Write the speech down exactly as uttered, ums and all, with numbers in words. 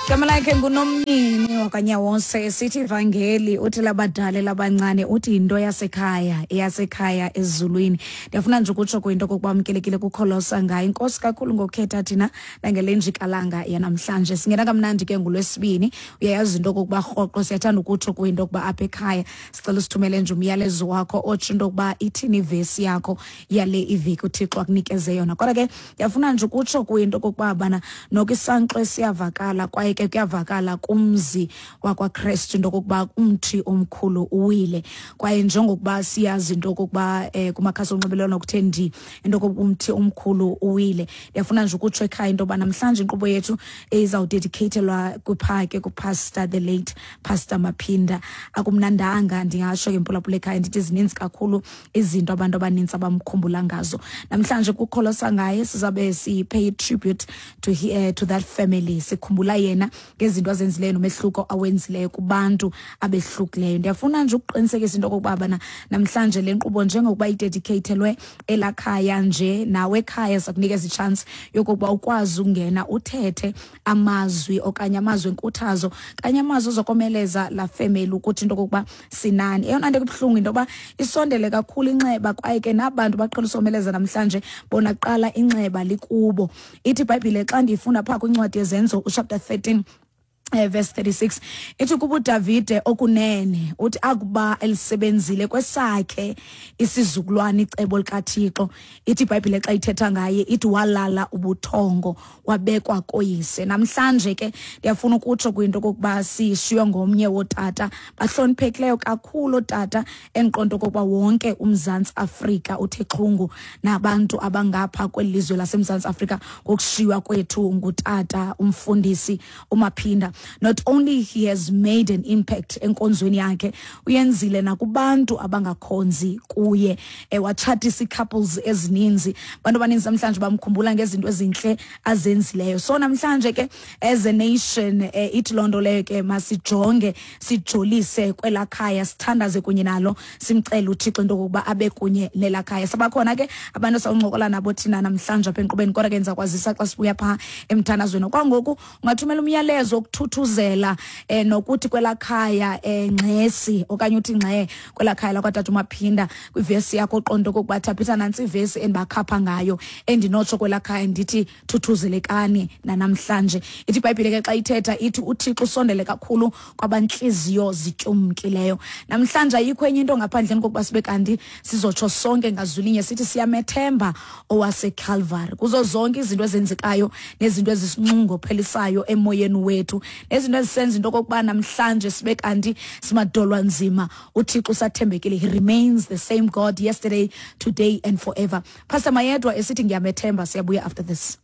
Igama lakhe nguNomnini wakwaNyawose. Sithi ivangeli uthi labadala labancane, uthi yinto yasekhaya, eyasekhaya ezulwini. Ndiyafuna nje ukutsho kwinto okokuba amkelekile kukholosa ngayo. Inkosi kakhulu ngokukhetha thina nangele njikalanga yanamhlanje. Singena kamnandi ke ngolwesibini. Uyayazi into okokuba rhoqo siyathanda ukutsho kwinto okuba apha ekhaya sicela usithumele nje umyalezo wakho otsho into okuba ithini ivesi yakho yale iveki uThixo akunikeze yona. Kodwa ke ndiyafuna nje ukutsho kwinto okokuba bana noko isankxwe siyavakala, kwaye ke kuyavakala kumzi wakwaKrestu into okokuba umthi omkhulu uwile. Kwaye njengokuba siyazi into okokuba eh, kumakhasi onxibelelwano kuthe ndi into okokuba umthi omkhulu uwile, ndiyafuna nje ukutsho ekhaya into yoba namhlanje inkqubo yethu izawudedicatelwa kwiphake kupastor, the late Pastor Maphinda. Akumnandanga, ndingatsho ke mphulaphula ekhaya ndithi zininzi kakhulu izinto abantu abanintsi abamkhumbula ngazo. Namhlanje kukholosa ngaye sizabe si-pay tribute to, he, uh, to that family, sikhumbula yena ngezinto azenzileyo nomehluko awenzileyo kubantu abehlukileyo. Ndiyafuna nje ukuqinisekisa into okokuba bana namhlanje le nkqubo njengokuba idedicatelwe elakhaya nje, nawe ekhaya sakunikeza ichance yokokuba ukwazi ukungena uthethe amazwi okanye amazwi enkuthazo kanye amazwi ozokomeleza la family ukuthi into okokuba sinani. Eyona nto kubuhlungu into yoba isondele kakhulu inxeba, kwaye ke nabantu baqhela usomeleza namhlanje bona kuqala inxeba likubo. Ithi iBhayibhile xa ndiyifunda phaa kwincwadi yeZenzo uchapter thirteen Eh, verse thirty-six ithi kuba uDavide okunene uthi akuba elisebenzile kwesakhe isizukulwana icebo likaThixo, ithi iBhayibhile xa ithetha ngaye ithi walala ubuthongo wabekwa koyise. Namhlanje ke ndiyafuna ukutsho kwinto okokuba sishiywe ngomnye wotata bahloniphekileyo kakhulu, otata endiqonda okokuba wonke uMzantsi Afrika uthe xhungu nabantu abangapha kweli lizwe laseMzantsi Afrika ngokushiywa kwethu ngutata umfundisi uMaphinda. Not only he has made an impact enkonzweni yakhe, uyenzile nakubantu abangakhonzi kuye, eh, watshatisa ii-couples ezininzi. Abantu abaninzi namhlanje bamkhumbula ngezinto ezintle azenzileyo. So namhlanje ke as a nation, eh, ithi loo nto leyo ke masijonge sijolise kwelaa khaya, sithandaze kunye nalo, simcele uThixo into okokuba abe kunye nelaa khaya. Sabakhona ke abantu esawuncokola nabo thina namhlanje apha enkqubeni, kodwa ke ndiza kwazisa xa sibuya phaa emthandazweni. Kwangoku ungathumela umyalezo wokuthuthuzela eh, nokuthi kwelaa khaya eh, ngxesi okanye uthi ngxe kwelaa khaya lakwatata uMaphinda kwivesi yakho oqonda okokuba thaphitha nantsi ivesi endibakhapha ngayo endinotsho kwelaa khaya ndithi thuthuzelekani nanamhlanje. Ithi iBhayibhile ke xa ithetha ithi uThixo usondele kakhulu kwabantliziyo zityumkileyo. Namhlanje ayikho enye into ngaphandleni kokuba sibe kanti sizotsho sonke ngazwilinye sithi siyamethemba owaseCalvary kuzo zonke izinto ezenzekayo nezinto ezisinxungophelisayo emoyeni wethu nezinto ezisenza into okokuba namhlanje sibe kanti simadolwa nzima. UThixo usathembekile. He remains the same God yesterday, today and forever. Pastor Mayedwa esithi ngiyamethemba. Siyabuya after this.